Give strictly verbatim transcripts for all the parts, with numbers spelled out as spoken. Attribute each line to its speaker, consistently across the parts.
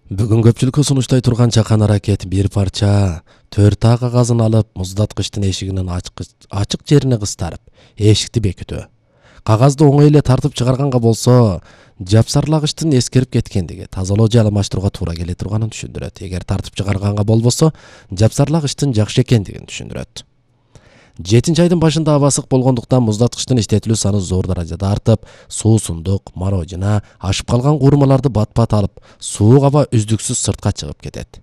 Speaker 1: Бүгүн көпчүлүккө сунуштай турган чакан аракет бир парча төрт А кагазын алып муздаткычтын эшигинин ачык жерине кыстарып, эшикти бекитүү. Кагазды оңой эле тартып чыгарганга болсо, жапсарлагычтын эскерип кеткендиги, тазалоо же алмаштырууга туура келе турганын түшүндүрөт. Эгер тартып чыгарганга болбосо, жапсарлагычтын жакшы экендигин түшүндүрөт. жетинчи айдын башында аба ысык болгондуктан муздаткычтын иштетилүү саны зор даражада артып, суусундук, марожина, ашып калган куурмаларды бат-бат алып, суук аба үздүксүз сыртка чыгып кетет.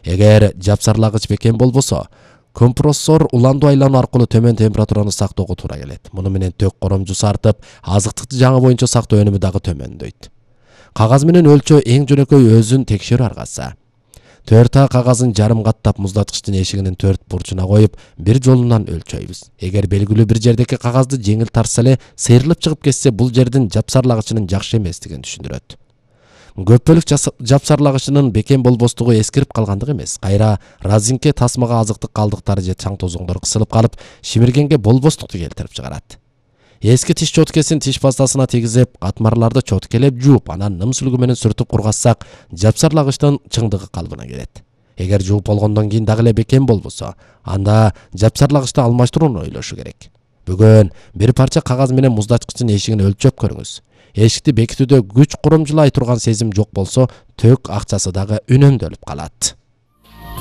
Speaker 1: Эгер жапсарлагыч бекем болбосо, компрессор уландуу айлануу аркылуу төмөн температураны сактоого туура келет. Муну менен төк коромжусу артып, азыктыкты жаңы боюнча сактоо өнүмү дагы төмөндөйт. Кагаз менен өлчөө эң жөнөкөй өзүн текшерүү аргасы. төрт А кагазын жарым каттап муздаткычтын эшигинин төрт бурчуна коюп, бир жолунан өлчөйбүз. Эгер белгилүү бир жердеки кагазды жеңил тартса эле сейрилип чыгып кетсе, бул жердин жапсарлагычынын жакшы эместигин түшүндүрөт. Көпбөлүк жапсарлагычынын бекем болбостугу эскирип калгандык эмес, кайра разинке тасмага азыктык калдыктары же чаң тозоңдор кысылып калып, шимиргенге болбостукту келтирип чыгарат. Эски тиш чоткесин тиш пастасына тийгизип, катмарларды чоткелеп жууп, анан ным сүлгү менен сүртүп кургатсак, жапсарлагычтын чыңдыгы калыбына келет. Эгер жууп болгондон кийин дагы эле бекем болбосо, анда жапсарлагычты алмаштырууну ойлошу керек. Бүгүн бир парча кагаз менен муздаткычтын эшигин өлчөп көрүңүз. Эшикти бекитүүдө күч курамжылай турган сезим жок болсо, төк акчасы дагы үнөмдөлүп калат.